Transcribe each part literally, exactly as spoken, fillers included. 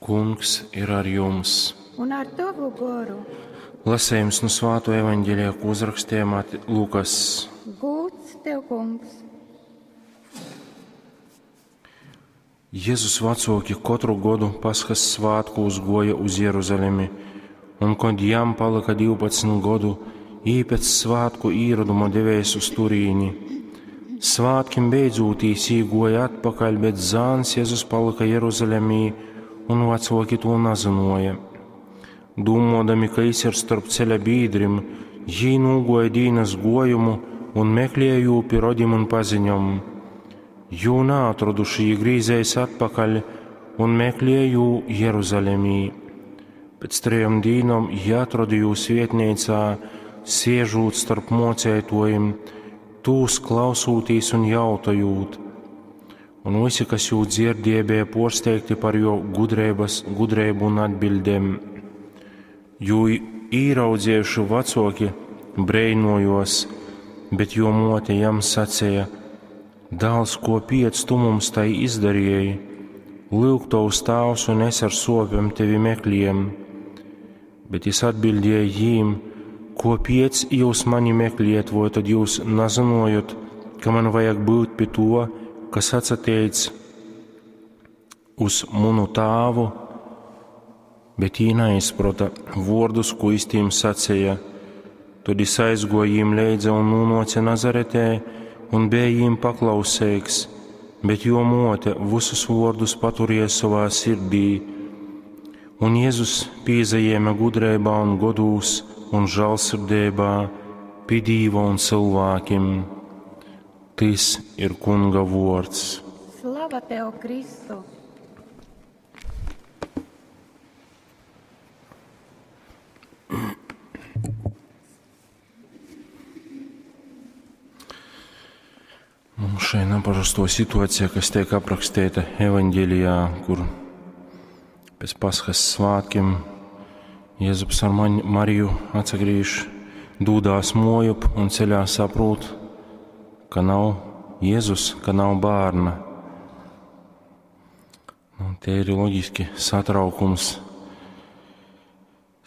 Kungs ir ar jums! Un ar tovu goru. Lasējums no Svāto evaņģēlija, ko uzrakstīja Lukas. Gūts tev, kungs! Jēzus vecoki katru godu Paskas svētkos goja uz Jeruzalemi, un kad jam palika divpadsmit godu, jī pēc svētku īroduma devējs uz turīni. Svētkim beidzūtīs jī goja atpakaļ, bet zāns Jēzus palika Jeruzalemī, un vecoki to nazinoja. Dūmodami, ka jis ir starp ceļa bīdrim, jī nūgoja dīnas gojumu un meklēja jū pi rodim un paziņom. Jū naatroduši, jī grīzējas atpakaļ un meklēja jū Jeruzalemī. Pēc trejom dīnom jī atroda jū svietneicā, siežūt starp mocētojim, tūs klausūtīs un jautojūt. Un visi, kas jū dzirdēja, bija porsteigti par jo gudrības, gudrību un atbildēm. Jū īraudzējuši vecoki breinojos, bet jo mote jam sacīja: Dāls, ko piec tu mums tai izdarīji? Lūk, tavs tēvs un es ar sopēm tevi meklējam. Bet jis atbildēja jīm: Ko piec jūs mani meklējat, vai tad jūs nazinojat, ka man vajag būt pie to, kas atsateic uz munu tēvu? Bet jī neizprota vārdus, ko jis tīm sacīja. Tad jis aizgoja jīm leidza un nūnoca Nazaretē un bija jīm paklausīgs, bet jo mote visus vārdus paturēja savā sirdī. Un Jēzus pīzajēma gudrībā un godūs un žēlsirdībā pie Dīva un cilvēkiem. Tis ir Kunga vārds. Slava tev, Kristu! Mums šai neparasto situācija, kas tiek aprakstīta evaņģēlijā, kur pēc Paskas svētkiem Jēzus ar Mariju atsagriež, dūdās mojup un ceļā saprot, ka nav Jēzus, ka nav bērna. Nu, te ir loģiski satraukums,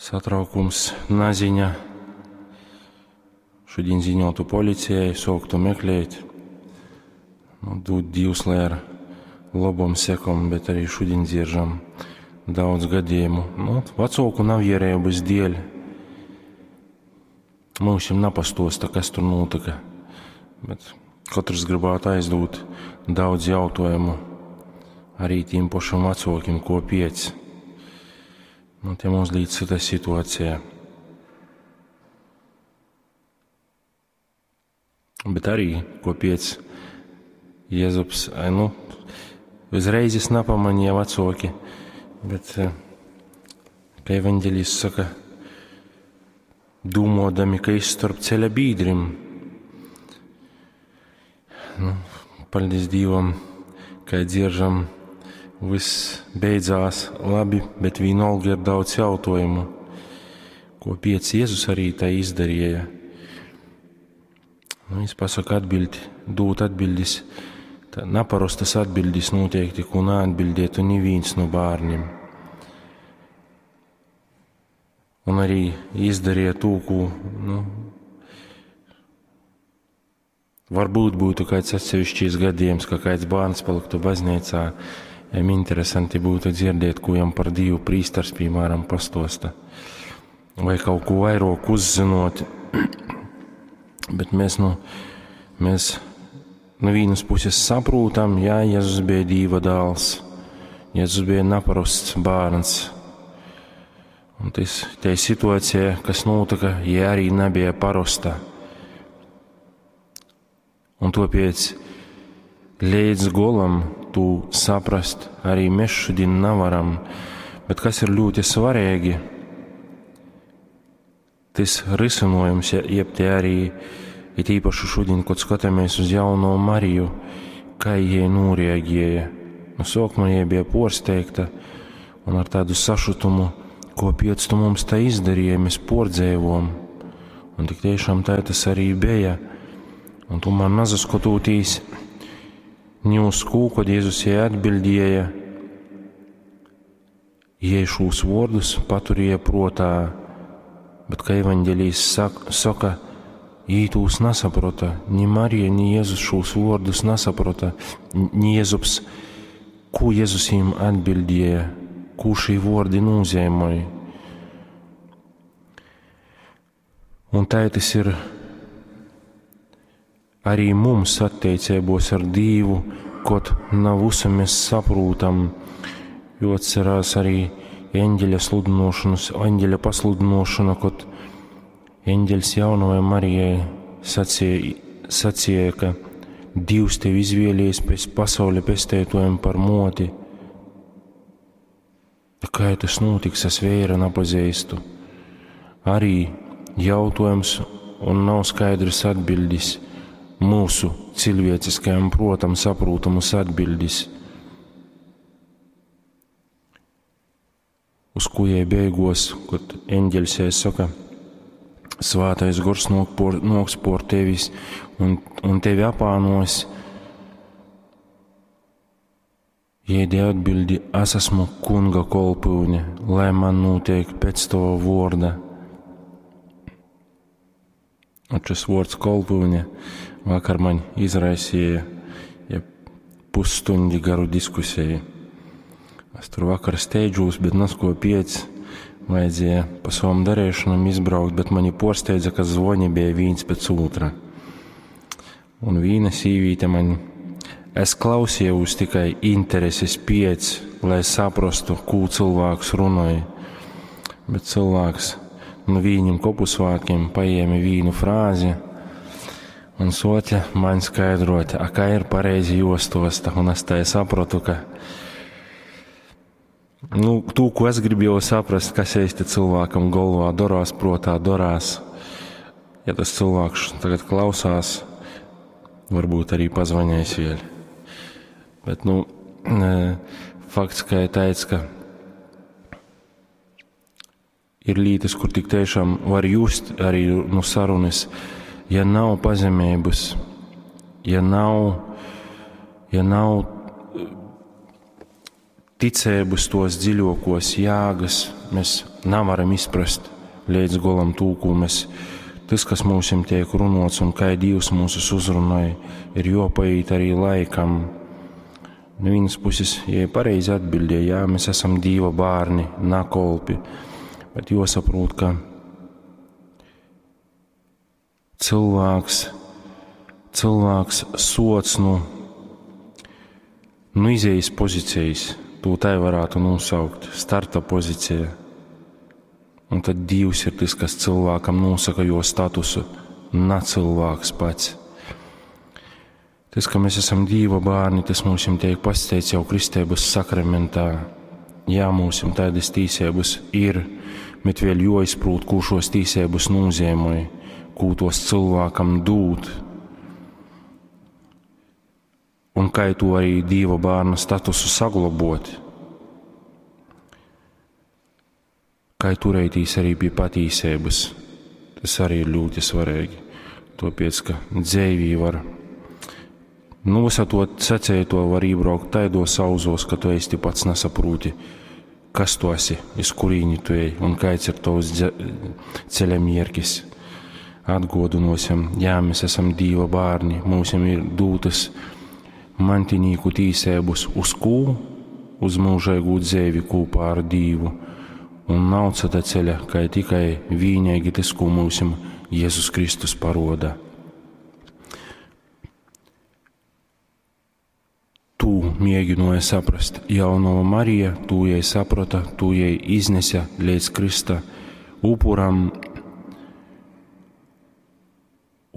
satraukums, naziņa. Šodien ziņotu policijai, sāktu meklēt. Nu, dod Dievs, lai ar labom sekom, bet arī šodien dzieržam daudz gadījumu. Nu, vecāku nav ierēbas dēļ. Mums jau napastosta, kas tur notika. Bet katrs gribētu aizdot daudz jautājumu arī tiem pašam vecākiem, ko piec. Nu, te mums līdz cita situācija. Bet arī, ko piec Jēzus, nu, uzreiz es nepamanīju vecāki, bet, kā evaņģēlijs saka, dūmodami, ka es starp ceļa bīdrim. Nu, paldies Dievam, ka dzieržam, viss beidzās labi, bet vienalga ir daudz jautājumu, ko piec Jēzus arī tā izdarīja. Nu, es pasaku atbildi, dūt atbildes, tā naparastas atbildes noteikti, ko neatbildētu neviens no bērniem. Un arī izdarīja to, ko, nu, varbūt būtu kāds atsevišķis gadījums, ka kāds bērns paliktu baznīcā, jam interesanti būtu dzirdēt, ko jam par Dievu prīstars, piemēram, pastosta, vai kaut ko vairāk uzzinot. Bet mēs, nu, mēs no vienas puses saprotam, jā, Jēzus bija Dieva dēls, Jēzus bija neparasts bērns. Un tas, tā situācija, kas notika, ja arī nebija parasta. Un tāpēc līdz golam tu saprast arī mēs šodien nevaram, bet kas ir ļoti svarīgi, tas risinājums, jeb te arī it īpaši šodien, kad skatāmies uz jauno Mariju, kā jie noreaģēja. No sākuma jie bija porsteigta un ar tādu sašutumu, ko piec tu mums tā izdarīja, mēs pordzēvom. Un tik tiešām tā tas arī bija. Un tomēr nazaskotūtīs ni uz kū, kad Jēzus jai atbildēja, Jei šūs vōrdus paturēja prōtā, bet, kā evaņģelijs soka, jī tūs nasaprota, ni Marija, ni Jezus šūs vōrdus nasaprota, ni Jezups, kū Jezus jīm atbildēja, kū šī vōrdi nūzeimoj. Un tai tas ir arī mums attiecībos ar Dīvu, kot nav visu mēs saprūtam, jo atcerās arī eņģeļa sludinošanas, eņģeļa pasludinošana, kad eņģeļs jaunajai Marijai sacīja, sacīja, ka Dievs tevi izvēlējis pēc pasaules pestētojam par moti. Kā tas notiks, es vēra nepazīstu. Arī jautājums un nav skaidrs atbildis mūsu cilvēciskajam protam saprūtamas atbildis. Uz ko jai beigos, kad eņģeļs jai saka, Svētais gors nāk por, nāks por tevis un, un tevi apānos. Jai deva atbildi, es esmu kunga kolpyune, lai man notiek pēc tava vorda. Un šis vārds kolpyune vakar man izraisīja ja pusstundi garu diskusiju. Es tur vakar steidžos, bet nasko piec vajadzēja pa savam darīšanam izbraukt, bet mani porsteidza, ka zvoni bija viens pēc otra. Un viena sīvīte man, es klausījos tikai intereses piec, lai saprastu, ko cilvēks runāja. Bet cilvēks nu viņiem kopusvātkiem paēma vīnu frāzi un soķa man skaidrot, a kā ir pareizi jostosta, un es tā sapratu, ka nu, tū, ko es gribēju saprast, kas īsti cilvēkam galvā dorās, protā dorās. Ja tas cilvēks tagad klausās, varbūt arī pazvanīs vēl. Bet, nu, fakts, ka ir tāds, ka ir lietas, kur tik tiešām var just arī no sarunas, ja nav pazemības, ja nav, ja nav ticības tos dziļākos jēgas, mēs nevaram izprast līdz galam tū, ko mēs, tas, kas mums tiek runots un kā Dievs mūsus uzrunāja, ir jopaiet arī laikam. No vienas puses, ja pareizi atbildēja, jā, mēs esam Dieva bērni, na kolpi, bet jāsaprot, ka cilvēks, cilvēks sots nu, nu izejas pozīcijas, to tai varētu nosaukt, starta pozīcija. Un tad Dievs ir tas, kas cilvēkam nosaka jo statusu, ne cilvēks pats. Tas, ka mēs esam Dieva bērni, tas mums tiek pasteikts jau kristības sakramentā. Jā, mums tādas tīsības ir, bet vēl joizprūt, ko šos tīsības nozīmē, ko tos cilvēkam dūt. Un kā to arī Dieva bērna statusu saglabot. Kā turētīs arī pie patīsības. Tas arī ir ļoti svarīgi. Tāpēc, ka dzēvī var, nu, visu to sacēto var iebraukt taidos auzos, ka tu īsti pats nesaprūti, kas tu esi, iz kurīni tu ej un kāds ir tavs ceļa mierkis. Atgodinosim, jā, mēs esam Dieva bērni, mums ir dūtas mantinīku tīsēbus uz kū, uz mūžēgu dzēvi kopā ar Dievu. Un nav cita ceļa, kā tikai vienīgi tas, ko mums Jēzus Kristus paroda. Tū mēģināja saprast jaunova Marija, tū jai saprata, tū jai iznesa līdz Krista upuram,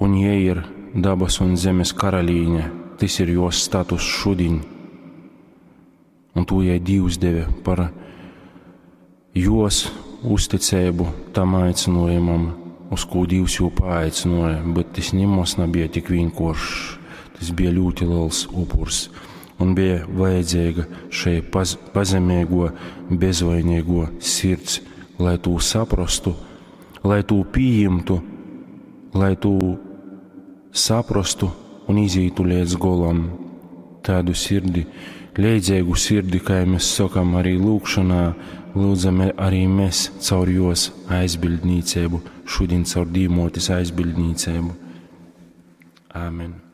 un jai ir dabas un zemes karalīne, tas ir jos status šodien. Un tū jai Dievs deva par jos uzticību tam aicinājumam, uz ko Dievs jū paaicināja, bet tas nemaz nebija tik vienkāršs, tas bija ļoti liels upurs un bija vajadzīga šai paz, pazemīgo, bezvainīgo sirds, lai tū saprastu, lai tū pieņemtu, lai tū saprastu un izītu līdz golam. Tādu sirdi, leidzīgu sirdi, kā mēs sakam arī lūkšanā, Lyudzam arī mēs caur jos aizbildnīcību, šodien caur Dīvmōtes aizbildnīcību. Āmen.